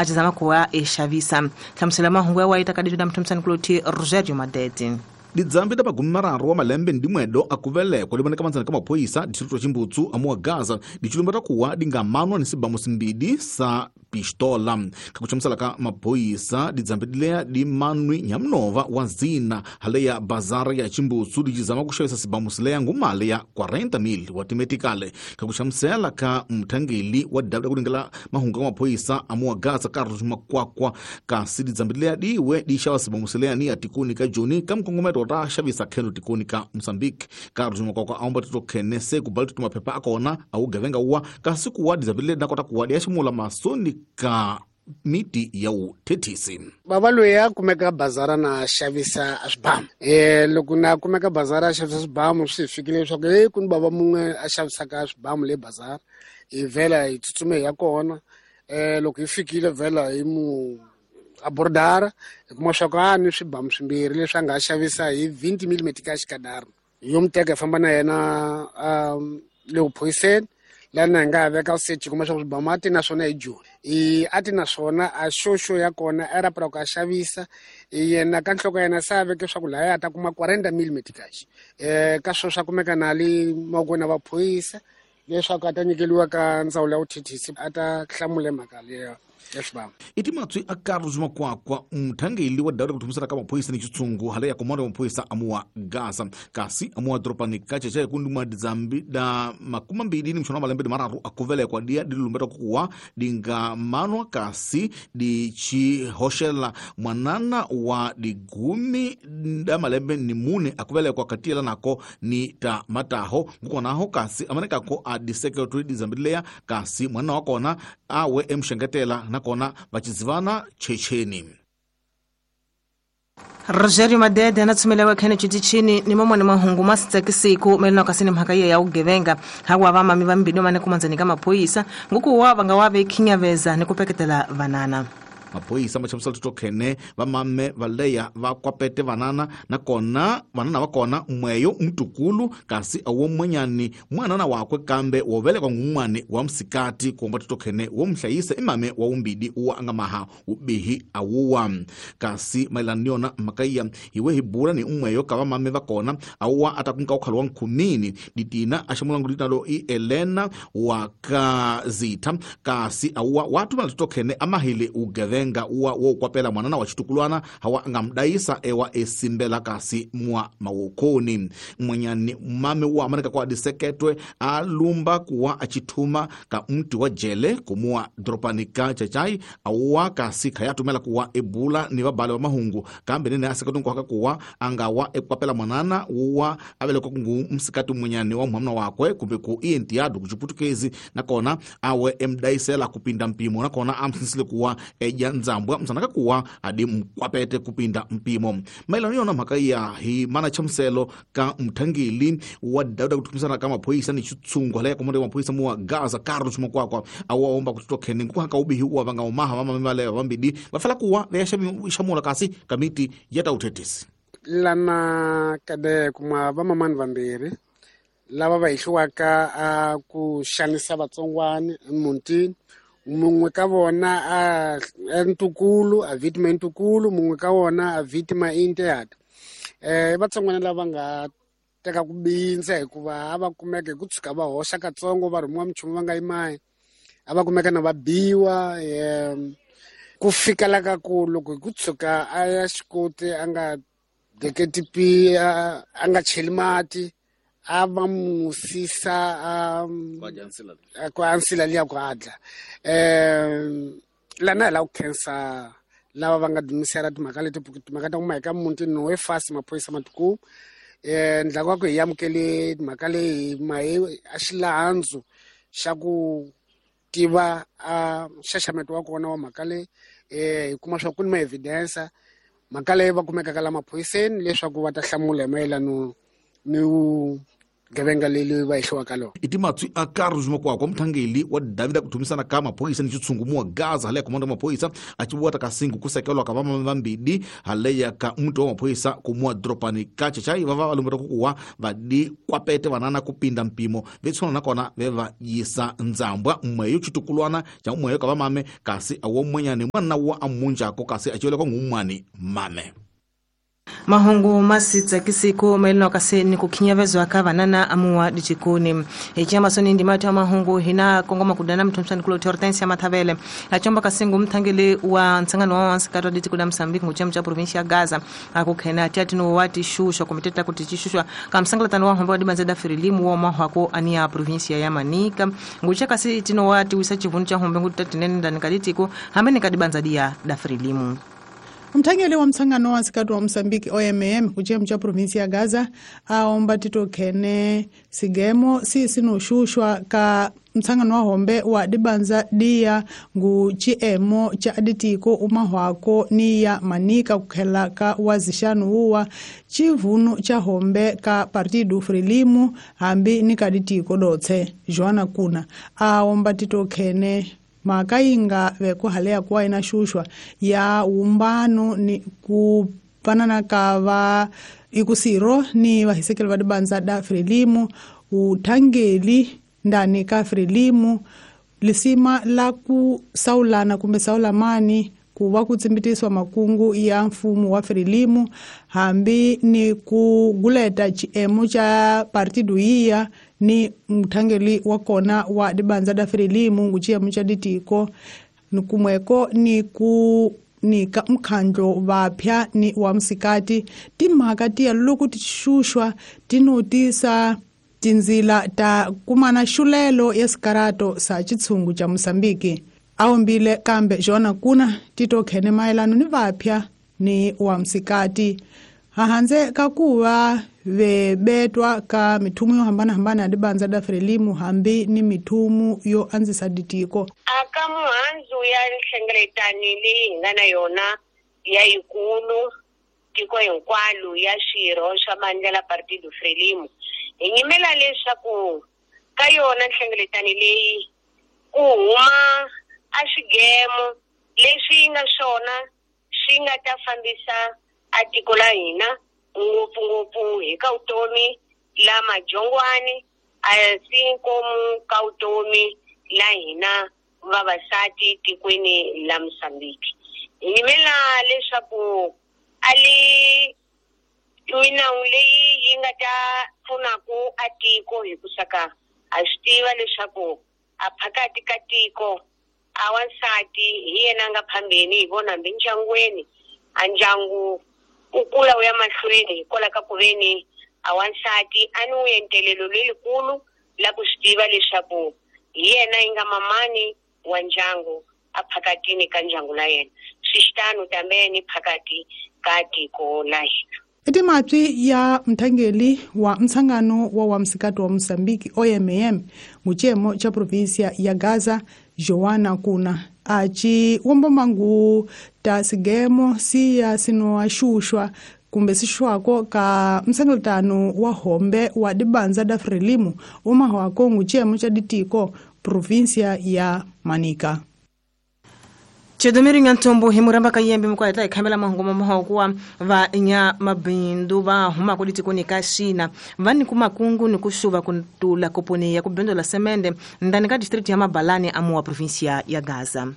A cizama kuwa exavisa. Hlamusela mahungu ya wa ita ka dito na mthomsani kuloti Rogerio Madete. Didzambi da magumi mararu wa malembe ndi mwedo akuvelekwa livoneka manzana ka maphoyisa distrito Chimbutsu amuwa Gaza dichilumba takuwa dingamanwa ni sibamu simbidi sa pistola. Kakuchamusala ka maphoyisa didzambi dileya dimanwi nyamnova wa zina hale ya bazara ya Chimbutsu dicizama kuxavisa sibamu sileya ngumali ya 40,000 wa timetikale. Kakuchamusela ka mthangeli wa dabu kulingela mahungu ka maphoyisa amuwa Gaza Carlos Makwakwa kasi didzambi dileya diwe dixava sibamu sileya ni ya tikoni ka Joni ka mkongometo ta xavisa khelo tikoni ka Mozambique. Carlos Makwakwa aomba tito khene se kubala tito maphepha akona awugevenga uwa kasi kuwa didzambi dileya dinakota kuwa diyaximula masoni ka miti ya uthethisi. Baba loyi a kumeka bazara na xavisa swibamu. Loko na kumeka bazara a xavisa swibamu swi fikile leswaku ku ni baba mun'we a xavisaka swibamu le bazara. Hi vhela hi tsutsume hi ya kona. Loko hi fikile vhela hi mu abordara hi kuma swa ku a ni swibamu swimbirhi leswi a nga xavisa hi 20 mm ka xikadara. Yo mu teka hi famba na yena le vuphoyiseni. Lana hi nga veka search kuma swa swibamu a ti na swona hi Joni. A ti na swona a xoxo ya kona a rapela ku a xavisa. Yena ka nhloko ya yena se a veke swa ku lahaya a ta kuma 40 mm cash. Ka sweswo swa kumeka na le mavokweni ya vaphoyisa leswaku a ta nyikeriwa ka ndzawulo ya vuthethisi a ta hlamula mhaka leyo ya swibamu. I timatswi a Carlos Makwakwa mthangeli wa dawu kuthumisela ka maphoyisa ni xitshungu hale ya komando ya maphoyisa amuwa Gaza kasi amuwa doropani ka Cheche ku ndima dzambi da makumi mbili ni mshona malembe mararu akuvelekwa dia dilumbeta kuwa dinga manwa kasi dichihoxela mwanana wa digumi da malembe ni mune akuvelekwa katiyela nako ni ta mataho ngukonaho kasi amanekako a disekretary dizambileya kasi mwana wa kona awe emxengetela nakona vachizivana checheni. Rogerio Madede anatsumelewa khene chitichini ni momwe ni mahungu masitsakisiku melino kasini mhaka ya ugevenga hawa vamami vambili mane kumanzani ka maphoyisa ngukuwa vanga wave khinyaveza ni kupeketela vanana. Maphoyisa machamusela tito khene vamame valeya va kwapete vanana nakona vanana va kona mweyo mtukulu kasi awo mwenyani mwanana wakwe kambe wovelekwa ngumwane wa msikati kuomba tito khene wo mhlayisa imame wa umbidi uwa angamaha ubihi awuwa kasi maelana ni yona mhaka hiwe hibula ni umweyo ka vamame va kona awuwa atakunka ukhalo wa nkhumini ditina axamulangu dinalo i Elena wa ka Zitha kasi awuwa watumela tito khene amahile ugeve nga uwa wo kwapela mwanana wa chitukulwana hawa ngamdaisa ewa esimbela kasi mwa mawokoni mwenyani mame wa amaneka kwa diseketwe alumba kuwa achituma ka mti wa jele kumua dropanika chachai awuwa kasi khayatumela kuwa ebula ni vabale wa mahungu kambe nene aseketwe kuwa angawa ekwapela mwanana uwa avelekwa kungu msikati mwenyani wa muhamna wakwe kumbe ku ientiado kuchiputukezi nakona awe emdaisela kupinda mpimo nakona amsinsile kuwa eja nzambwa msanaka kuwa adi mkwapete kupinda mpimo. Maelano yona mhaka ya hi mana chamuselo ka mthangeli wa dauda kuthumisana ka maphoyisa ni xitshungu hale ya komando ya maphoyisa muwa Gaza Carlos Makwakwa awa omba kutitwa khene nguhaka ubihi uwa vanga umaha vamame valeya vambidi vafela kuwa veya xamula kasi kamiti ya ta uthethisi. Lana kade kuma vamamani vambirhi lava va hehliwaka a ku xanisa vatsongwana emutini. Mun'we ka vona a ntukulu a victima ntukulu mun'we ka vona a victima intehata. Vatsongwana lava nga teka ku bindza hikuva a va kumeka hi ku tshuka va hoxa katsongo va rhumiwa minchumu va nga yimayi a va kumeka na va biwa ku fika la ka ku loko hi ku tshuka a ya xikoti a nga deketi pi a nga cheli mati a va musisa a ku ansila liya ku adla. Lana hi lava ku khensa lava va nga dumisela timhaka leti timhaka ta kuma hi ka muti no we fast maphoyisa matikulu. Ndlaku wa ku hi amukele timhaka leyi mahe a xilandzu xa ku tiva a nxaxameto wa kona wa mhaka leyi. Hi kuma swa ku ni ma evidence mhaka leyi va kumekaka la maphoyiseni leswaku va ta hlamula hi mayelano ni Gevenga leli va hehliwaka lona. I timatswi a Carlos Makwakwa muthangeli wa David ku thumisana ka maphorisa ni xitshungu muwa Gaza haleya komando ya maphorisa a ci vuwata ka singu ku sekelwa ka vamame vambidi haleya ka muti wa maphorisa ku muwa doropani ka Chachai va va lumbeta ku kuwa va di kwapete vanana ku pinda mpimo ve tshwana nakona ve va yisa ndzambwa mweyo xitukulwana xa mweyo ka vamame kasi a wo mwenyani mwana wa amunjako kasi a civeleka ngumwani mame. Mahungu masitsakisiku maelano kasi ni kukhinyavezwa ka vanana amuwa dijikoni hichamasoni ndi mati mahungu hina kongoma kudana mthomsani kulo Hortensia Mathavele achomba kasingu mthangeli wa ntsangano wa wansikati wa ditiko la Msambiki nguchemu cha provinsia ya Gaza akukhena tiatino wati shusha komiteta kuti chishushwa kamsangalatano wa homba wadibanza da Frelimu wa mahwako ania provinsia ya Manika ngucha kasi tino wati wisa chivunu cha hombe ngutatinene ndani kaditiko hamene kadibanza dia da Frelimu. Mthangeli wa msangano wa nsikati wa Msambiki OMM kuchemu cha provinsi ya Gaza aomba titokhene sigemo sinoshushwa ka msangano wa hombe wa dibanza dia ngu chiemo cha aditiko umahwako ni ya Manika kukhela ka wazishanu uwa chivunu cha hombe ka Partido Frelimu hambi ni kaditiko dotse. Joana Kuna aomba titokhene makayinga vekuhalea kuwa inashushwa ya umbano ni kupanana kava ikusiro ni vahisekeli va dibanza da Frelimu uthangeli ndani ka Frelimu lisima la kusaulana kumbe saulamani kuva kutsimbitiswa makungu ya mfumo wa Frelimu hambi ni kuguleta chiemo cha partido iya ni mthangeli wa kona wa dibanza da Frelimu nguchiemo cha ditiko nikumweko ni ku ni ka mkhandlo vapya ni wa msikati timhaka tiya loko tishushwa tinotisa tinzila ta kumana xulelo ya sikarato sa chitshungu cha Mosambiki. Aombile kambe Jona Kuna titokhene mayelano ni vapya ni wa msikati hahanze kakuva vebetwa ka mithumu yo hambana-hambana ya dibanza da Frelimu hambi ni mithumu yo andzisa ditiko. Aka muhandzu ya nhlengeletani leyi hi nga na yona ya yikulu tiko hinkwalo ya swirho swa mandla la Partido Frelimu hi nyimela leswaku ka yona nhlengeletani leyi ku huma a swigemo leswi nga swona swi nga ta fambisa a tiko la hina ngopfungopfu hi ka vutomi la majongwani a si nkomu ka vutomi la hina vavasati tikweni la Mosambiki. Hi nyimela leswaku a li minawu leyi yi nga ta pfunaku a tiko hi ku saka a swi tiva leswaku a phakati ka tiko a wansati hi yena a nga phambeni hi vona hambi ndyangwini a ndyangu u kula u ya mahlweni hikwalaho ka ku veni a wansati a ni wuentelelo lelikulu la ku swi tiva leswaku hi yena yi nga mamani wa ndyangu a phakatini ka ndyangu la yena swi xitano tambe ni phakati ka tiko la hina. Etimatswi ya mthangeli wa msangano wa msikati wa Mosambiki OMM nguchemo cha provinsia ya Gaza Joana Kuna achi wombomangu ta sigemo siya sinoashushwa kumbe sishwako ka msangalatano wa hombe wa dibanza da Frelimu umahwako nguchemo cha ditiko provinsia ya Manika. Chedomiri nyantombo himuramba kayembe mkwaleta ikamela mahungu mahokuwa va nya mabindu va huma kulitiko ni kashina vani kumakungu ni kushuva kuntula koponi ya kubendo semende ndani ka district ya Mabalani amuwa provincia ya Gaza.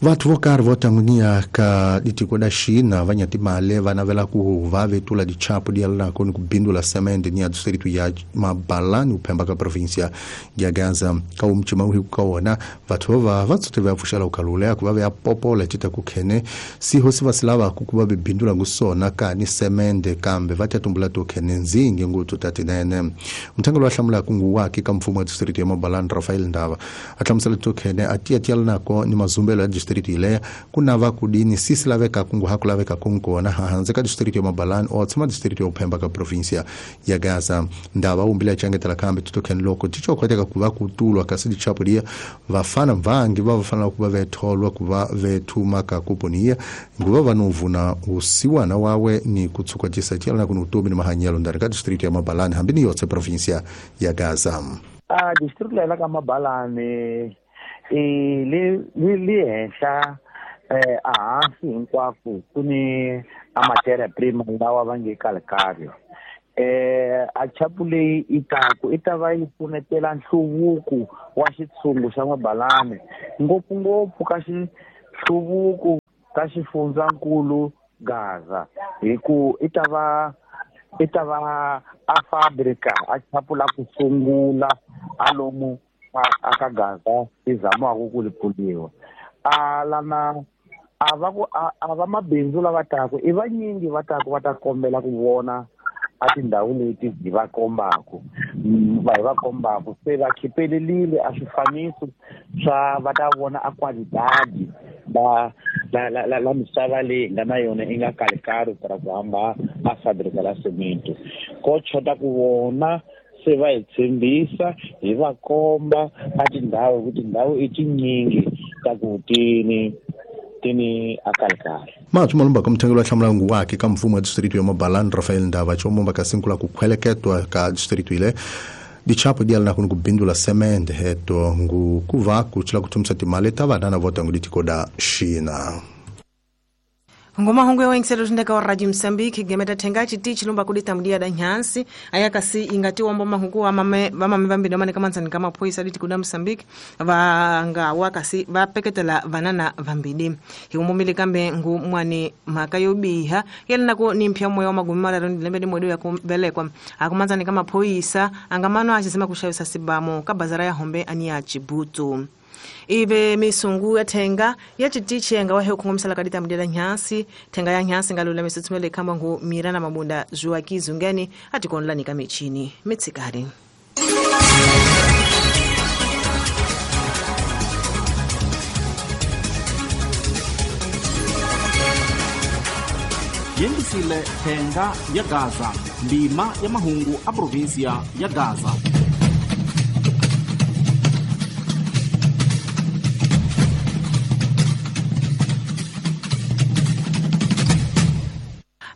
Vathu vo karhi vo tangunia ka ditiko da China va nyatimale va navela ku va vetula dichapu di yalanako ni ku bindula semende ni ya distritu ya Mabalani uphemba ka provincia ya Gaza. Ka umchima uhi ka wona vathu va va tsute va pfuxela ukalule ku va va popola tita ku khene siho si va silava ku va bindula ngusona ka ni semende kambe va tatumbula to khene nzingi nguthu tatinene. Mthangelo wa hlamula ku nguwaki ka mfumo wa distritu ya Mabalani Rafael Ndava a hlamusela to khene a tiya tiyalanako ni mazumbelo ya distrito ileya kunava kudini sisi laveka kungu hakulaveka kunkona hanze ka distrito ya Mabalani otsema distrito ya Uphemba ka província ya Gaza. Ndava umbile achangetela kambe tutokheni loko tichokhweteka kuva kutulwa kasi dichapo dia vafana vangi vavafanela kuva vetholwa kuva vethuma ka kuponia nguva vanovuna usiwana wawe ni kutsukwatisa tialana kuno utomi ni mahanyelo ndani ka distrito ya Mabalani hambi ni yotse província ya Gaza. A distrito la ka Mabalani le henhla ehansi hinkwako ku ni a matéria prima lawa va nge calcário. A chapu leyi i taku i ta va yi pfunetela nhluvuko wa xitshungu xa Mabalani ngopfungopfu ka xihluvuko ka xifundzankulu Gaza hi ku i ta va a fabrika a chapu la ku sungula a lomu a ka Gaza i zamaku ku li pfuliwa. A lana a va ku a va mabindzu lava taku i vanyingi va taku va ta kombela ku vona a tindhawu leti hi va kombaku va hi va kombaku se va khipelelile a swifaniso swa va ta vona a qualidade la la misava leyi hi nga na yona i nga calcário para ku hamba a fabrika la cemento ko chota ku vona se va hi tshembisa hi va komba a tindhawu ku tindhawu i tinyingi ta ku tini a calcário. Mathu malumba ka mthengelo wa hlamulangu wake ka mfumo wa distrito ya Mabalani Rafael Ndava chomomba ka sinkula ku khweleketwa ka distrito ile dichapo dialana kuno kubindula semende heto ngu kuva kuchila kutumisa timali ta vanana vota ngu ditikoda China. Ngoma hongo ya wengiselo tindeka wa Radio Mozambique gemeta thenga chiti chilumba kudita mdia da nyansi ayakasi ingati wombo mahuku wa mame vambili mane kama ntsani kama phoisa diti kuda Mozambique vanga wakasi vapeketela vanana vambili hiumumili kambe ngu mwani mhaka yobiha yelina ku ni mpya moyo wa magumi mararo ndilembe ni mwedu ya kumbelekwa akumanzani kama phoisa angamano achisema kushawisa sibamo kabazara ya hombe ani ya Chibutu. Ibe misungu ya thenga ya chitichi nga wahe ukungomsala kadita mdela nyansi thenga ya nyansi ngalula misitsumele kamba ngu mirana mabunda zuwa kizungeni atikonlani kamichini mitsikari. Yendisile thenga ya Gaza ndima ya mahungu a província ya Gaza.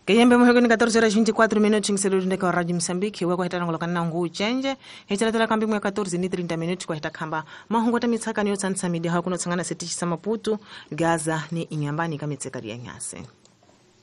Keyembe muhegoni 14:24 minutos ngiselo ndeka Radio Mozambique wa kwahita ngolo kana ngu chenje hitalatela kambi mwe 14:30 minutos kwahita khamba mahungu ta mitsakani yo tsantsha midi ha kuno tsangana setichi sa Maputo Gaza ni inyambani ka mitsekari ya nyase.